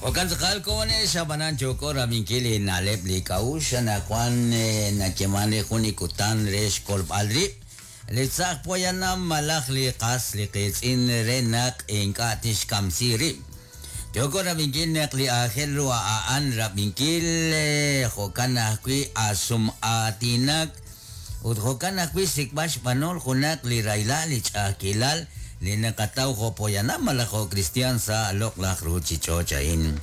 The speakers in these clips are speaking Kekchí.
Jo'kan tz'aqal komonex, ab'anan yooko rab'inkil li na'leb' li k'a'uxl anaqwan nayeeman re jun li kutan re xkolb'al rib' li tz'aj poyanam malaj li qas li qiitz'in re naq ink'a' tixkamsi rib'. Yooko rab'inkil naq li aajel ru a'an rab'inkil jo'kan ajwi' asum'aatinak ut jo'kan ajwi' xsik'b'al xb'anol junaq li rahilal li ch'a'ajkilal li naqataw jo' poyanam malaj jo' kristiaan sa' loq'laj ruuchich'och' a'in.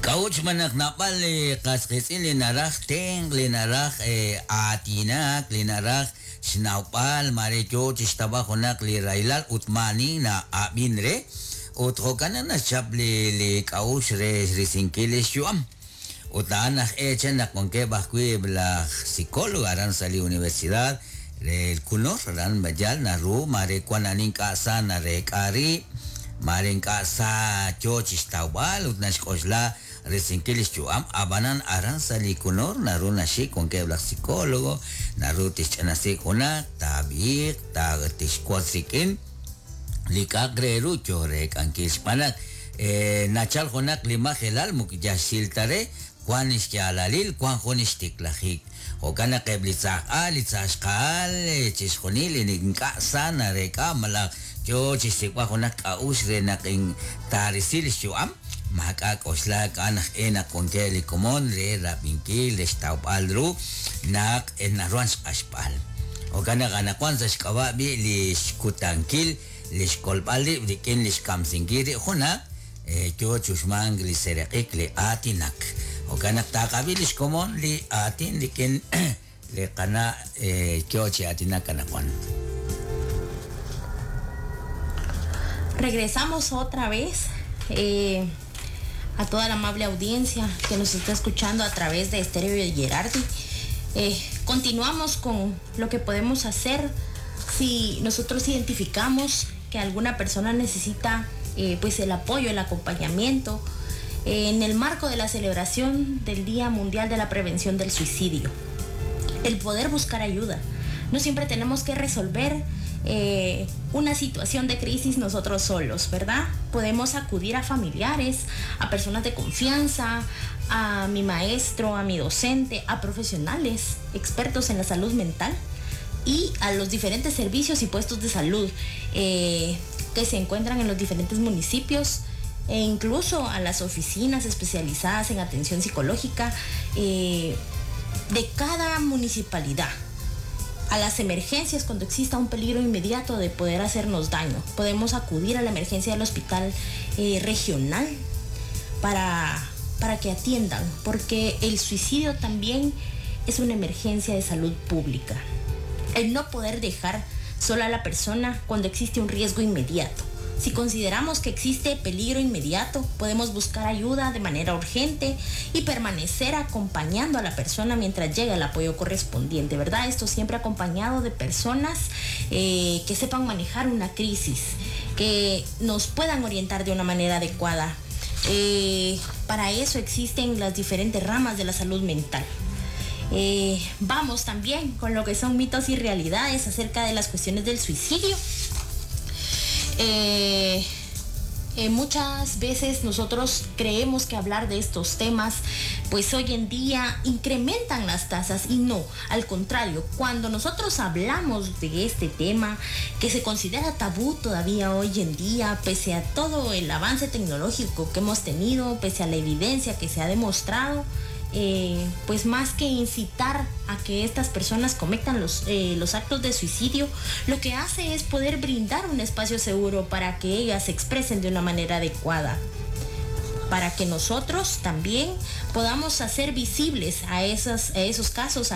K'a'ut xb'aan naq naab'al li qas qiitz'in li naraj tenq', li naraj aatinak, li naraj xnawb'al mare yo chi xtawb'al junaq li rahilal ut maani na'ab'in re ut jo'kan naq naxchap li li k'a'uxl re risinkil li xyu'am. Ut a'an aj eechej naq wankeb' ajwi' laj psicólogo aran sa' li universidad re El Kunor, aran yal naru mare wan ani ink'a' sa nareek'a rib', mare ink'a' sa yo chi xtawb'al ut naxk'oxla risinkil li xyu'am, ab'anan aran sa' li Kunor naru naxik wankeb' laj psicólogo, naru tixch'inasi junaq, taab'iiq, tixwotz rik'in li k'a'aq re ru yo reek'ankil xb'aan naq nachal junaq li majelal moko yal xsil ta re, wan xyaalalil, wan jun xtiklajik. Jo'kan naq eb' li tz'aj al, li tz'aj xqa'al, chixjunil li ink'a' sa nareek'a malaj yo chi xsik'b'al junaq k'a'uxl re naq taarisi li xyu'am, maak'a' k'oxlaak a'an aj e naq wankeb' li komon re rab'inkil, re xtawb'al ru naq naruhan xq'axb'al. Jo'kan naq anaqwan sa' xk'ab'a' b'i' li xkutankil li xkolb'al rib' rik'in li xkamsinkil rib' junaq yo chi uxmank li seeraq'ik li aatinak. Jo'kan naq taqab'i li xkomon li aatin rik'in li qana' yo chi aatinak anaqwan. Regresamos otra vez a toda la amable audiencia que nos está escuchando a través de Estéreo Gerardi. Continuamos con lo que podemos hacer si nosotros identificamos que alguna persona necesita pues el apoyo, el acompañamiento en el marco de la celebración del Día Mundial de la Prevención del Suicidio. El poder buscar ayuda. No siempre tenemos que resolver una situación de crisis nosotros solos, ¿verdad? Podemos acudir a familiares, a personas de confianza, a mi maestro, a mi docente, a profesionales, expertos en la salud mental y a los diferentes servicios y puestos de salud que se encuentran en los diferentes municipios e incluso a las oficinas especializadas en atención psicológica de cada municipalidad. A las emergencias cuando exista un peligro inmediato de poder hacernos daño. Podemos acudir a la emergencia del hospital regional para que atiendan, porque el suicidio también es una emergencia de salud pública. El no poder dejar sola a la persona cuando existe un riesgo inmediato. Si consideramos que existe peligro inmediato, podemos buscar ayuda de manera urgente y permanecer acompañando a la persona mientras llega el apoyo correspondiente, ¿verdad? Esto siempre acompañado de personas que sepan manejar una crisis, que nos puedan orientar de una manera adecuada. Para eso existen las diferentes ramas de la salud mental. Vamos también con lo que son mitos y realidades acerca de las cuestiones del suicidio. Muchas veces nosotros creemos que hablar de estos temas pues hoy en día incrementan las tasas y no, al contrario, cuando nosotros hablamos de este tema que se considera tabú todavía hoy en día, pese a todo el avance tecnológico que hemos tenido, pese a la evidencia que se ha demostrado, pues más que incitar a que estas personas cometan los actos de suicidio, lo que hace es poder brindar un espacio seguro para que ellas se expresen de una manera adecuada, para que nosotros también podamos hacer visibles a esos casos,